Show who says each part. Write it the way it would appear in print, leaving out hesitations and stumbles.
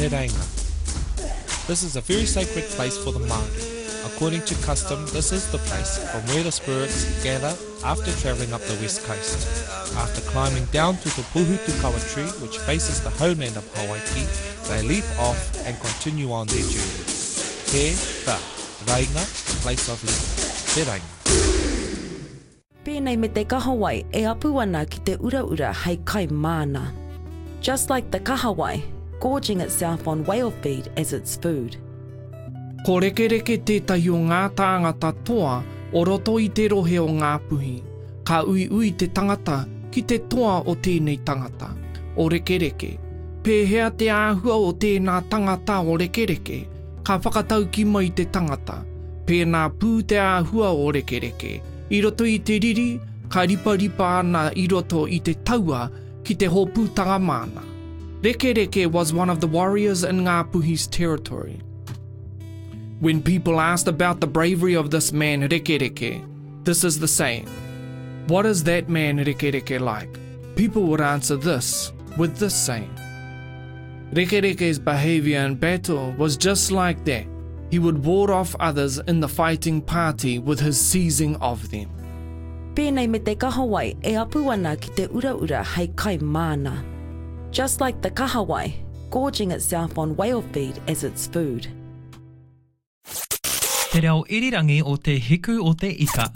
Speaker 1: Te Reinga. This is a very sacred place for the Māori. According to custom, this is the place from where the spirits gather after travelling up the west coast. After climbing down to the Puhutukawa tree, which faces the homeland of Hawaiki, they leap off and continue on their journey. Te, ta, Reinga, place of leaping. Te Reinga.
Speaker 2: Pēnei me te kahawai e apu ana ki te uraura hei kai māna. Just like the kahawai, gorging itself on whale feed as its food.
Speaker 3: Ko Rekereke tētahi o ngā tāngata toa o roto i te rohe o Ngāpuhi. Ka uiui te tangata ki te toa o tēnei tangata, o Rekereke. Pēhea te āhua o tēnā tangata o Rekereke? Ka whakataukī mai te tangata, Pēnā pū te āhua o Rekereke. I roto i te riri, ka riparipa ana i roto i te taua ki te hōpūtanga māna. Rekereke was one of the warriors in Ngāpuhi's territory. When people asked about the bravery of this man Rekereke, this is the saying, What is that man Rekereke like? People would answer this with this saying. Rekereke's behavior in battle was just like that. He would ward off others in the fighting party with his seizing of them.
Speaker 2: Pēnei me te kahawai e apu ana ki te uraura hei kai māna. Just like the kahawai, gorging itself on whale feed as its food.
Speaker 4: Te reo irirangi o Te Hiku o Te Ika.